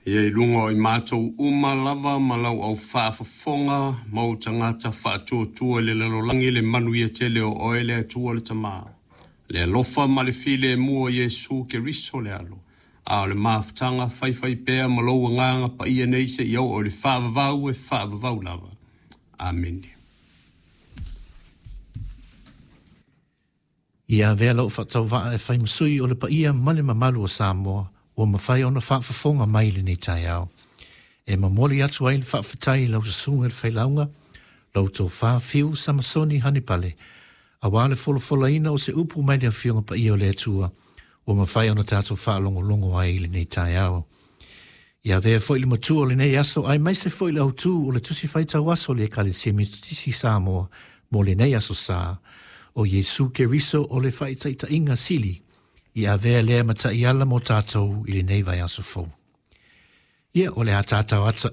Ia i luga o i matou uma lava ma lau au faafofoga ma ou tagata faatuatua i le lalolagi le manuia tele o oe le Atua le Tama, le alofa ma le filemu o Iesu Keriso le Alo, a o le mafutaga faifaipea ma lou Agaga Paia nei seia oo i le faavavau e faavavau lava. Amene. Ia avea lou faatauvaa e fai ma sui o le paia ma le mamalu o Samoa ua mafai ona faafofoga mai i lenei taeao. E momoli atu ai le faafetai i lau susuga i le Failauga, lau Tofa Fiu Samasoni Hanipale, aua le folafolaina o se upu mai le Afioga Paia o le Atua ua mafai ona tatou faalogologo ai i lenei taeao. Ia avea foi le matua o lenei aso aemaise foi le autu o le Tusi Faitau Aso a le Ekalesia Metotisi i Samoa mo lenei Aso Sa, o Iesu Keriso o le Faitaitaiga Sili, i avea lea ma taiala mo tatou i lenei vaiaso fou. Ia, o le a